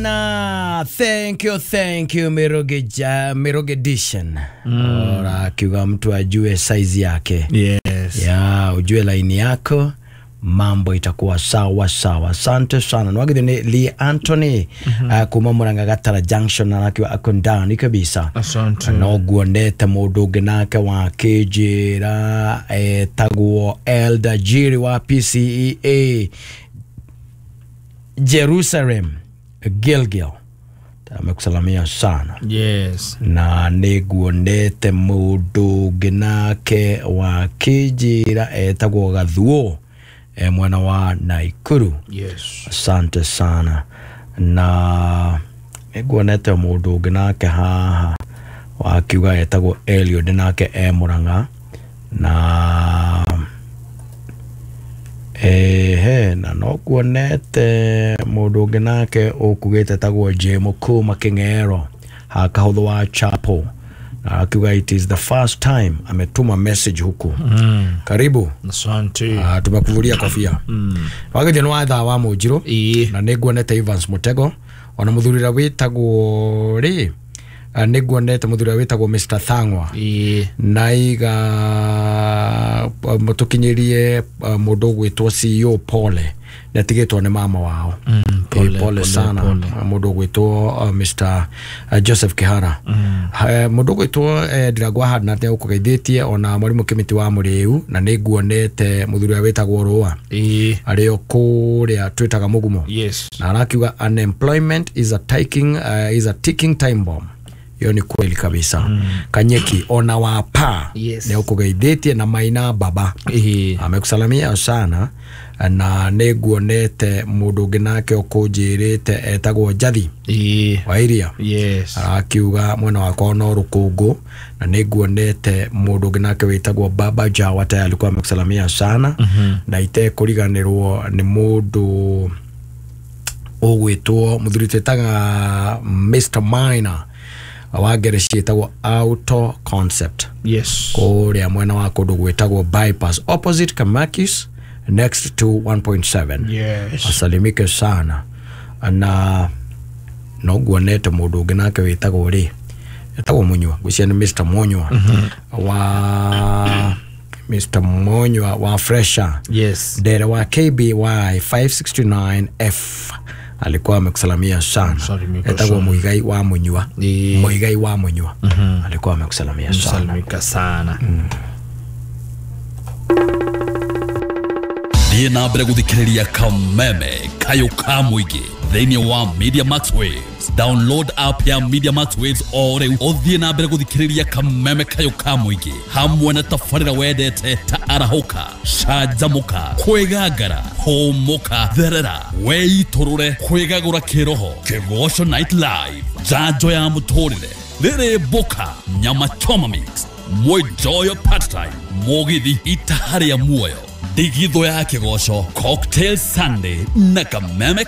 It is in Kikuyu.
Sana, thank you Miroge ja, Miroge Edition. Ora kiuga mtu ajue size yake. Yes. Ya, ujue laini yako mambo itakuwa sawa sawa. Asante sana. Nwagithio ni Lee Anthony kuma Murang'a Gatara Junction na akiwa ako ndani kabisa. Asante. No guonete mundu ungi nake wakinjira etagwo Elder Jiri wa PCEA Jerusalem Gilgil amekusalamia sana. Yes. Na nĩnguonete mũndũ ũngĩ nake wa kĩnjĩra etagwo Gathuo e mwena wa Naikuru. Yes. Asante sana. Na nĩnguonete mũndũ ũngĩ nake haha wakiuga etagwo Eliud nake e Murang'a na ehe na no kuonete mũndũ ũngĩ nake ũkugĩte tagwo Jemo kuma King'ero hakahũthũ wa Chapel na akiuga it is the first time ametuma message huku. Karibu. Asante. Tumekuvulia kofia. Wagithio nĩ wa thaa wa mũnjirũ. Ĩĩ. Na nĩnguonete Evans Mutego ona mũthuri ũrĩa wĩtagwo rĩ nĩnguonete mũthuri ũrĩa wĩtagwo Mr Thang'wa. Ĩĩ. Naiga mutukinyirie mundu ugwitwo CEO pole nĩatigĩtwo nĩ mama wao. Pole, pole pole, sana pole. Mundu ugwitwo Mr Joseph Kihara. Mundu ugwitwo Ndirangwa Hadna nĩagũkũgeithĩtie ona mwarimũ Kĩmĩtĩ wa Mũrĩu na nĩnguonete mũthuri ũrĩa wĩtagwo Rũa Ĩĩ. arĩ o kũrĩa twĩtaga Mũgumo. Yes. Na arakiuga unemployment is a ticking, is a ticking time bomb. Hiyo ni kweli kabisa. Kanyeki ona wapa Yes. nĩ ũkũgeithĩtie na Maina Baba Ĩĩ. amekusalamia sana na nĩnguonete mũndũ ũngĩ nake ũkũnjĩrĩte etagwo Njathi Ĩĩ. wa Iria. Yes. Arakiuga mwena wakwa no rũkũngũ na nĩnguonete mũndũ ũngĩ nake wĩtagwo Baba Jawa tayari alikuwa amekusalamia sana. Na itekũriganĩrwo nĩ mũndũ ũgwĩtwo mũthuri twĩtaga Mr Minor wa ngereci ĩtagwo Auto Concept. Yes. Kũrĩa mwena wa kũndũ gwĩtagwo bypass opposite Kamakis next to 1.7. Yes. Asalimike sana na no guonete mũndũ ũngĩ nake wĩtagwo rĩ etagwo Munyua ngwĩciria nĩ Mr Munyua wa Mr Munyua wa Fresher. Yes. Ndere wa KBY 569F alikuwa amekusalamia sana. Salimika Etagwo sana. Muigai wa Munyua. Ĩĩ. Muigai wa Munyua alikuwa amekusalamia sana. Salimika sana. Thiĩ na mbere gũthikĩrĩria kameme kayũ ka mũingĩ thĩinĩ wa Media Max Waves. Download app ya Media Max Waves o rĩu ũthiĩ na mbere gũthikĩrĩria kameme kayũ ka mũingĩ hamwe na tabarĩra wendete ta arahũka, canjamũka, kwĩgangara, hũmũka, therera, weitũrũre, kwĩgagũra kĩroho, kĩgoco night live, njanjo ya mũtũrĩre, rĩrĩ mboka, nyama choma mix, mwenjoyo part time, mũgithi itaha rĩa muoyo, ndigithũ ya kĩgoco, cocktail Sunday na kameme.